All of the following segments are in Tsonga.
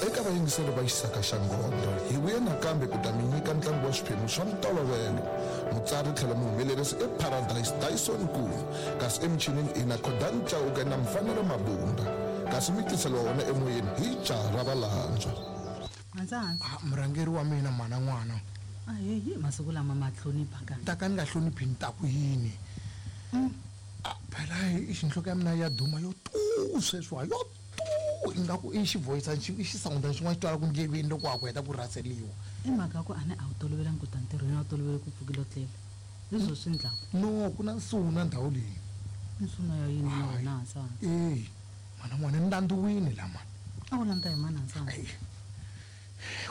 Eka vayingiseri va Xisaka xa Ngondho, hi vuye nakambe ku ta mi nyika ntlangu wa swiphemu swa ntolovelo. Mutsari tlhelo muhumelerisi i Paradise Dyson Nkuna, kasi emichinini i na Khodani Chauke na Mfanelo Mabunda. Kasi mi tiseliwa wona emoyeni hi jaha ra Valandzwa. Hansi hansi. Ah, murhangeri wa mina mhana n'wana. Aheyi masiku lama ma hlonipha ka. Ta ka ni nga hloniphi ni ta ku yini? Ah, phela i xinhloko ya mina ya duma yo tu sweswiwa yo tu ingaku i xivoyisani xi i xisawundani xin'wana xi twalaka ndleveni loko wa ha ku heta ku rhaseliwa. I mhaka ya ku a ni a wu tolovelangi ku ta ntirhweni a wu tolovele ku pfukile u tlela. Hi swo swi ndlaku. No, ku na nsuna ndhawu leyi. Nsuna ya yini na wena hansi hansi? Eyi, mhana n'wana ni landziwini la mani. A wu landza hi mani hansi hansi? Eyi,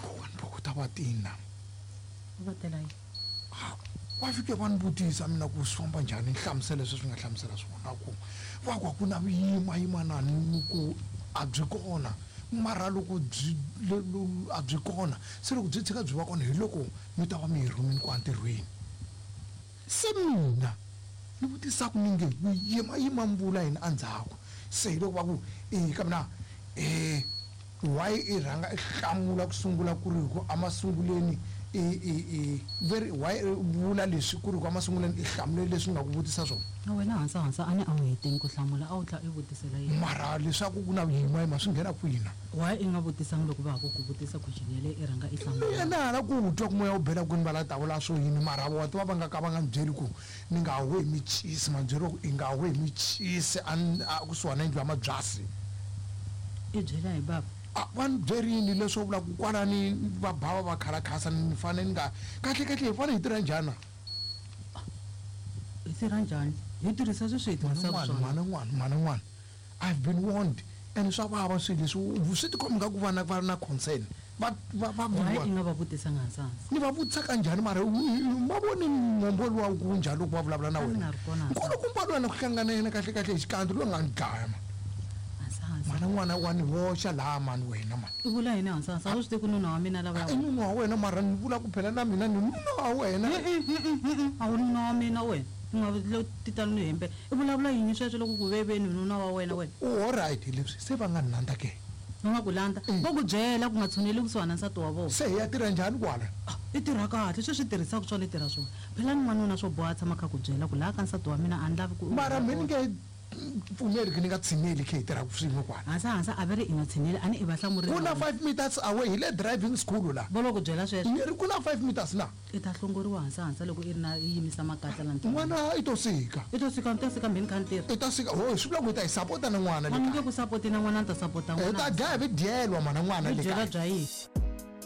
kokwani Bokota va tini la. Va tela yini? Ha, va fike va ni vutisa mina ku swi famba njhani ni hlamusela leswi swi nga hlamusela swona ku va ku a ku na vuyimayimanani ni ku a byi kona mara loko byi a byi kona se loko byi tshika byi va kona hi loko mi ta va mi hi rhumini kwa ntirhweni se mina ni vutisa ku ni nge vuyimayima mi vula yini endzhaku se hi loko va ku e ka mina why i rhanga i hlamula ku sungula ku ri ku emasunguleni i i i ve ri why i vula leswi ku ri ku emasunguleni i hlamule leswi ni nga ku vutisa swona. Na wena hansa hansa a ni a wu heteni ku hlamula a wu tlha i vutisela yena. Mara leswaku ku na vuyimayima swi nghena kwihi na? Why i nga vutisangi loko va ha ku ku vutisa question yaleyo i rhanga i hlamula? Mina na ha la ku twa ku moya wu bela kwini va la ta vula swo yini mara wa tiva va nga ka va nga ni byeli ku ni nga huhi michisi ma byeriwa ku i nga huhi michisi a a kusuhani na yindlu ya mabyasi. I byela hi bava. A va ni byerini leswo vula ku kwalani va bava va khalakhasa ni fane ni nga kahle kahle hi fane hi tirha njhani na? Hi tirha njhani? Hi tirhisa sweswi hi tirhisaka swona. Mhana n'wana mhana n'wana I've been warned and swa vava swilo leswi swi tikomba nga ku vana va na concern va va va Why i nga va vutisanga hansi ni va vutisa kanjhani mara ma voni mombo luwa ku njhani loko va vulavula na wena nkulukumba luwa na ku hlangana yena kahle kahle hi xikandza luwa nga ni dlaya ma mhana n'wana wa ni hoxa laha mani wena mani i vula yini hansi hansi a wu swi tivi ku nuna wa mina lava i nuna wa wena mara ni vula ku phela na mina ni nuna wa wena a wu nuna wa mina wena u nga lo titano ni hembe I vulavula yini sweswo loko ku ve ve ni nuna wa wena wena? U alright hi leswi se va nga ni landza ke? Va nga ku landza? Vo ku byela ku nga tshuneli kusuhana na nsati wa vona. Se hi ya tirha njhani kwala? Ah, i tirha kahle sweswi i tirhisaka swona i tirha swona. Phela ni n'wanuna swo boha a tshama a kha a ku byela ku laha ka nsati wa mina a ni lavi ku u Mara me ni nge pfumeli ku ni nga tshineli khe hi tirhaka swin'we kwala. Hansa hansa a va ri i nga tshineli a ni i va hlamurile Ku na 5 meters away hi le driving school la. Vo lo ku byela sweswo? Ni ri ku na 5 meters na. I ta hlongoriwa hansa hansa loko i ri na i yimisa makatla la ntirhweni. N'wana i to sika. I to sika, ni ta sika mheni kha ni tirha. I ta sika, ho swi vula ku hi ta yi sapota na n'wana le A ni kaya. nge ku sapoti na n'wana ni ta sapota Hi n'wana. ta dlaya hi dyelwa mhana n'wana Hi le dyela kaya. bya yini?